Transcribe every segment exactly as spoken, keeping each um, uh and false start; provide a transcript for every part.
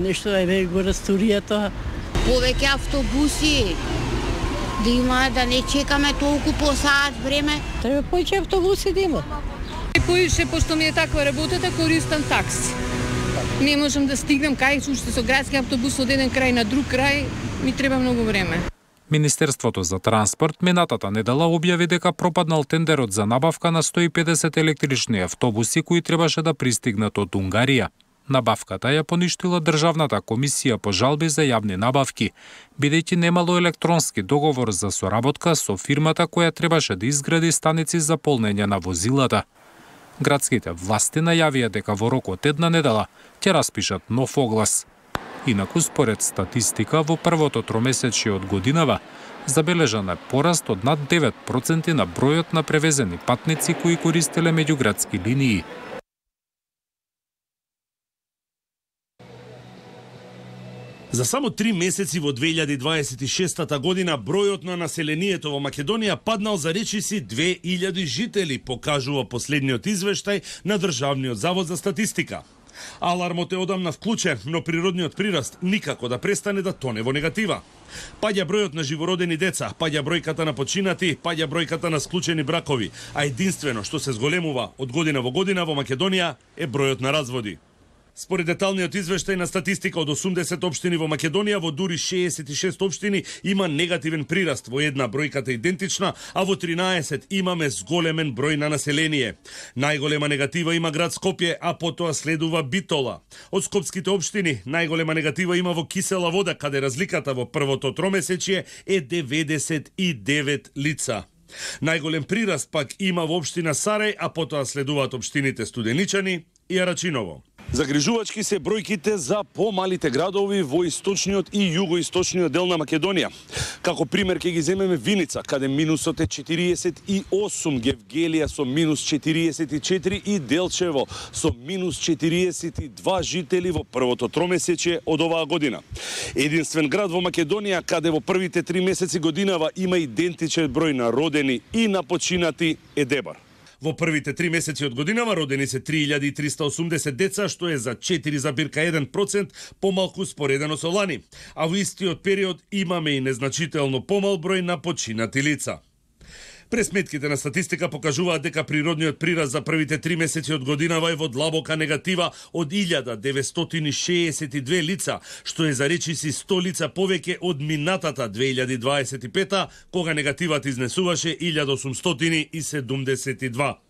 Нешто е го расторијата. Повеќе автобуси, да има, да не чекаме толку по саат време. Треба повеќе автобуси да има. Поише, пошто ми е таква работата, користам такси. Не можам да стигнам кај уште со градски автобус од еден крај на друг крај, ми треба многу време. Министерството за транспорт минатата недела објави дека пропаднал тендерот за набавка на сто и педесет електрични автобуси кои требаше да пристигнат од Унгарија. Набавката ја поништила Државната комисија по жалби за јавни набавки, бидејќи немало електронски договор за соработка со фирмата која требаше да изгради станици за полнење на возилата. Градските власти најавија дека во рок од една недела ќе распишат нов оглас. Инаку, според статистика, во првото тромесечие од годинава забележан е пораст од над девет проценти на бројот на превезени патници кои користеле меѓуградски линии. За само три месеци во две илјади дваесет и шеста година бројот на населението во Македонија паднал за речиси две илјади жители, покажува последниот извештај на Државниот завод за статистика. Алармот е одамна вклучен, но природниот прираст никако да престане да тоне во негатива. Паѓа бројот на живородени деца, паѓа бројката на починати, паѓа бројката на склучени бракови, а единствено што се зголемува од година во година во Македонија е бројот на разводи. Според деталниот извештај на статистика од осумдесет општини во Македонија, во дури шеесет и шест општини има негативен прираст, во една бројката идентична, а во тринаесет имаме зголемен број на население. Најголема негатива има град Скопје, а потоа следува Битола. Од скопските општини најголема негатива има во Кисела Вода, каде разликата во првото тромесечие е деветдесет и девет лица. Најголем прираст пак има во општина Сарај, а потоа следуваат општините Студеничани и Арачиново. Загрижувачки се бројките за помалите градови во источниот и југоисточниот дел на Македонија. Како пример ќе ги земеме Виница, каде минусот е четириесет и осум, Гевгелија со минус четириесет и четири и Делчево со минус четириесет и два жители во првото тромесечие од оваа година. Единствен град во Македонија каде во првите три месеци годинава има идентичен број на родени и на починати е Дебар. Во првите три месеци од годинава родени се три илјади триста и осумдесет деца, што е за четири зарез еден процент помалку споредено со лани. А во истиот период имаме и незначително помал број на починати лица. Пресметките на статистика покажуваат дека природниот прираст за првите три месеци од годинава е во длабока негатива од илјада деветстотини шеесет и две лица, што е за речиси сто лица повеќе од минатата две илјади дваесет и пета, кога негативата изнесуваше илјада осумстотини и седумдесет и два.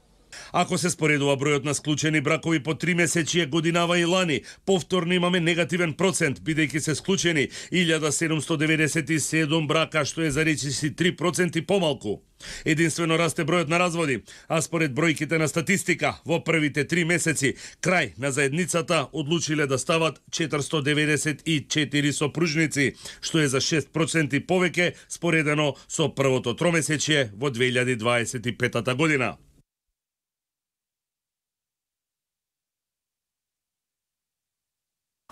Ако се споредува бројот на склучени бракови по три месечие годинава и лани, повторно имаме негативен процент, бидејќи се склучени илјада седумстотини деветдесет и седум брака, што е за речиси три проценти помалку. Единствено расте бројот на разводи, а според бројките на статистика, во првите три месеци, крај на заедницата одлучиле да стават четиристотини деветдесет и четири сопружници, што е за шест проценти повеќе споредено со првото тромесечие во две илјади дваесет и пета година.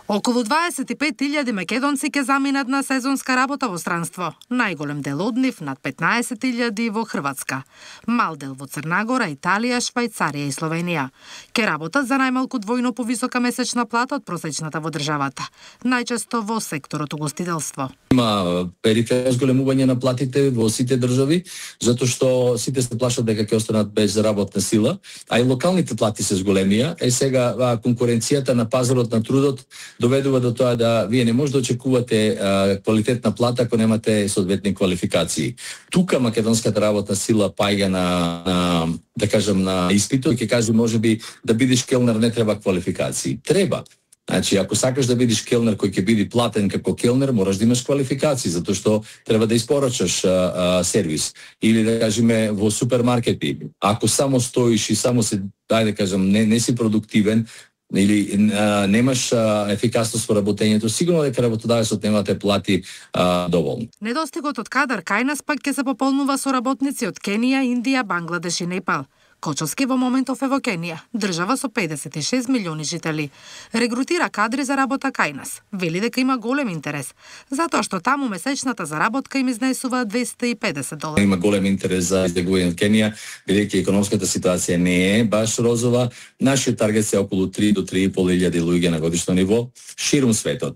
Околу дваесет и пет илјади македонци ќе заминат на сезонска работа во странство. Најголем дел од нив, над петнаесет илјади, во Хрватска. Мал дел во Црнагора, Италија, Швајцарија и Словенија. Ке работат за најмалку двојно повисока месечна плата од просечната во државата. Најчесто во секторот угостителство. Има периферно зголемување на платите во сите држави, затоа што сите се плашат дека ќе останат без работна сила, а и локалните плати се зголемија. Е сега конкуренцијата на пазарот на трудот доведува до тоа да вие не може да очекувате а, квалитетна плата ако немате соодветни квалификации. Тука македонската работна сила паѓа на, на да кажам на испитот, ќе кажи можеби да бидеш келнер не треба квалификации. Треба. Значи, ако сакаш да бидеш келнер кој ќе биде платен како келнер, мораш да имаш квалификации, затоа што треба да испорачаш а, а, сервис. Или да кажеме во супермаркети. Ако само стоиш и само се, дај да кажам, не, не си продуктивен, или а, немаш а, ефикасност во работењето, сигурно дека работодавецот нема да те плати а, доволно. Недостигот од кадар кај нас пак ќе се пополнува со работници од Кенија, Индија, Бангладеш и Непал. Кочовски во моментов е во Кенија, држава со педесет и шест милиони жители. Регрутира кадри за работа кај нас. Вели дека има голем интерес, затоа што таму месечната заработка им изнесува двесте и педесет долари. Има голем интерес за избегување од Кенија, бидејќи економската ситуација не е баш розова. Нашиот таргет е околу три до три и пол илјади луѓе на годишно ниво ширум светот.